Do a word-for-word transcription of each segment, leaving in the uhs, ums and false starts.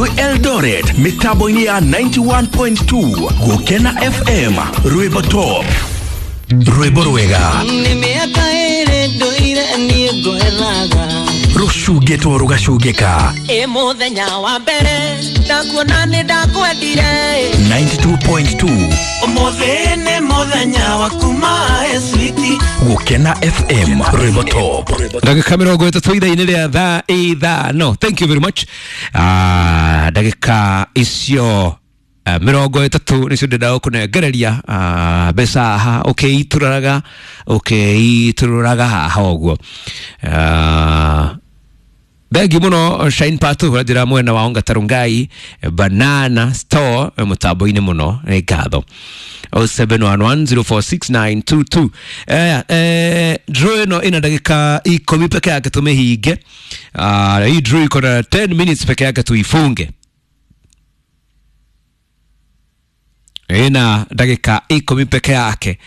Twĩ Eldoret mĩtambo-inĩ ya ninety-one point two Gũkena F M, rwĩmbo top, rwĩmbo rwega. Nĩ mĩaka ĩrĩ ndũire niĩ ngwethaga. Rũcungĩtwo rũgacungĩka. Ĩ mũthenya wa mbere ndakuona nĩ ndakwendire. ninety-two point two. Ũmũthĩ nĩ mũthenya waku mae switi. Gũkena F M, rwĩmbo top. Ndagĩka mĩrongo ĩtatũ ithaa-inĩ rĩa thaa ithano. Thank you very much. Ah, ndagĩka icio ah, mĩrongo ĩtatũ nĩcio ndĩrenda gũkũnengereria ah, mbeca haha ũkĩitũrũraga ũkĩitũrũraga haha ũguo. Ah, thengi mũno Shine Patu ũranjĩra mwena wa Ongata Rongai Banana Store mũtambo-inĩ mũno, nĩ ngatho. zero seven one one zero four six nine two two. eh, eh, draw ĩno ĩna ndagĩka ikũmi peke yake tũmĩhinge. Ah, hii draw iko na ten minutes peke yake tuifunge. Ĩna ndagĩka ikũmi peke yake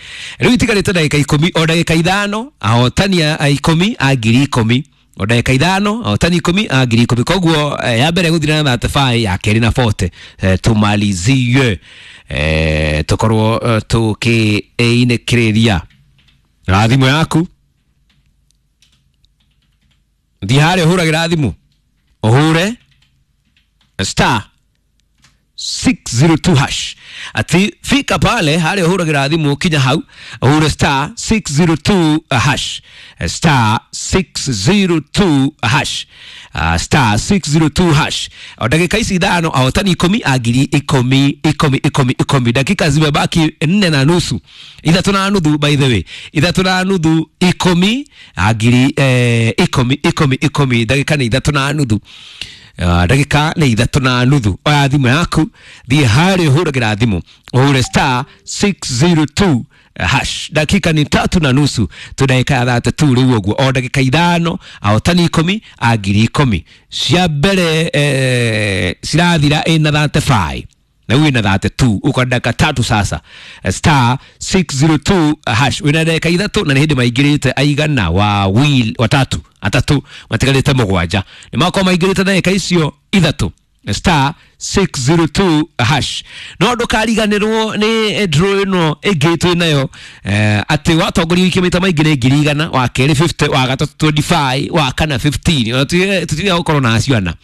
rĩu itigarĩte, ndagĩka ikũmi, o ndagĩka ithano ahotani a ikũmi a ngiri ikũmi, o ndagĩka ithano ahotani ikũmi a ngiri ikũmi. Koguo eh, ya mbere gũthira na thirty-five, ya kerĩ na forty. eh, tumalizie eh, tukorwo eh, tũkĩinĩkĩrĩria na thimũ yaku. Thiĩ harĩa ũhũragĩra thimũ, ũhure star six zero two hash. Ati fika pale harĩa ũhũragĩra thimũ, kinya hau ũhure star six zero two hash, star six zero two hash, uh, star six zero two hash. O ndagĩka ici ithano ahotani ikũmi a ngiri ikũmi ikũmi ikũmi ikũmi. Dakika zimebaki nne na nusu, ithatũ na nuthu, by the way, ithatũ na nuthu, ikũmi a ngiri eh, ikũmi ikũmi ikũmi. Ndagĩka nĩ ithatũ na nuthu. Uh, ndagĩka nĩ ithatũ na nuthu. Oya thimũ yaku, thiĩ harĩa ũhũragĩra thimũ, ũhure star six zero two hash. Dakika ni tatu na nusu, tu ndagĩka ya thate tu rĩu ũguo. O ndagĩka ithano ahotani ikũmi a ngiri ikũmi. Cia mbere eh, cirathira ĩna thirty-five na wina thirty-two, uko dakika tatu sasa. Star six zero two hash, wina dakika ithatũ na nĩ hĩndĩ maingĩrĩte aigana wa wil watatu atatu matigarĩte mũgwanja nĩ makorwo maingĩrĩte ndagĩka icio ithatũ, star six zero two hash. No ndũkariganĩrwo nĩ draw ĩno ĩngĩ twĩ nayo eh, atĩ watongoria wiki maita maingĩ nĩ ngiri igana, wa kerĩ fifty, wa gatatũ twenty-five, wa kana fifteen. Ona tũtiga gũkorwo na acio ana: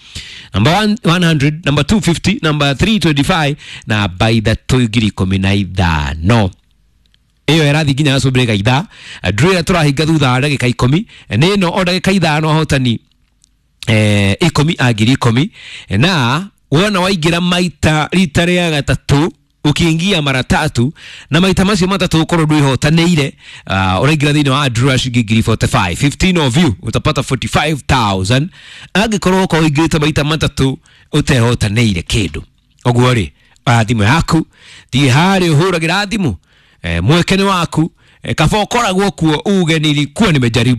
number one one hundred, number two fifty, number three twenty-five, namba ithatũ ngiri ikũmi na ithano. Ĩyo ĩrathiĩ nginya gacũmbĩrĩ ga ithaa. Draw ĩrĩa tũrahinga thutha wa ndagĩka ikũmi nĩ ĩno, o ndagĩka ithano ahotani eh, ikũmi a ngiri ikũmi. Na wona waingĩra maita rita rĩa gatatũ, ukiingia mara tatu na maita macio matatu ukorwo ndwihotanĩire, uh, ũraingĩra thĩinĩ wa draw ya ciringi ngiri forty-five. fifteen of you utapata forty-five thousand angĩkorwo ũkorwo ũingĩrĩte maita matatũ ũtehotanĩire kĩndũ. Ũguo rĩ, oya thimũ yaku, thiĩ harĩa ũhũragĩra thimũ, eh, mweke nĩ waku. eh, kaba ũkoragwo kuo uge nilikuwa nimejaribu.